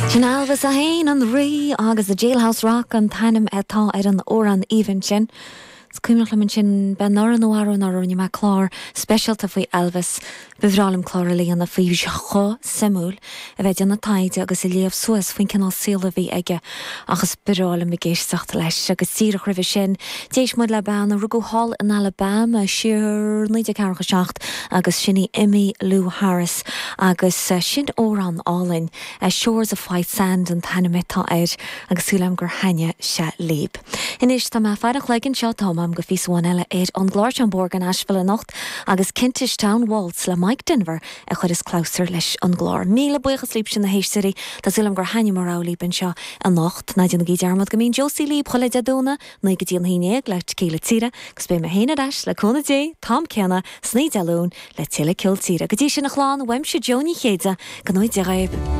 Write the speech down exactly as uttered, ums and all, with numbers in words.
Sin Elvis é féin an rí agus the Jailhouse Rock an t-ainm atá ar an amhrán aoibhinn sin. Is cuimhneach liom sin ben nó ar ná rinne mé clár speisialta faoi Elvis Ba bhreá liom clár a dhéanamh faoi chomh suimiúil a bheith ag déanamh taighde agus ag léamh suas faoin cineál saoil a bhí aige agus ba bhreá liom ag éisteacht leis agus díreach roimhe sin. D'éist muid le bean a rugadh thall in Alabama siar naoi déag ceathracha seacht agus sin í Emmylou Harris agus sin amhrán álainn Shores of White Sand an t-ainm atá air agus súil agam gur thaitin sé libh. Anois tá mé fear legan seo tá am go fís bháin eile ar an gclár Borgan Asheville anocht agus Kentish Town Waltz le Mike Denver a chuireas clabhsúr leis an gclár. Míle buíochas libh sin na héisteoirí Tá súil agam gur thaithin mo rogha libh anseo anocht ná déanaigí dearmad go mbíonn Josie libh chuile Dé Domhnaigh naoi go dtí an haon déag le Tequila Tíre, agus beidh mé féin ar ais le cúnamh Dé an t-am céanna san oíche Dé Luain le tuilleadh ceol tíre. Go dtí sin a chlán uaimse Joe Ní Chéide go n-éirí libh.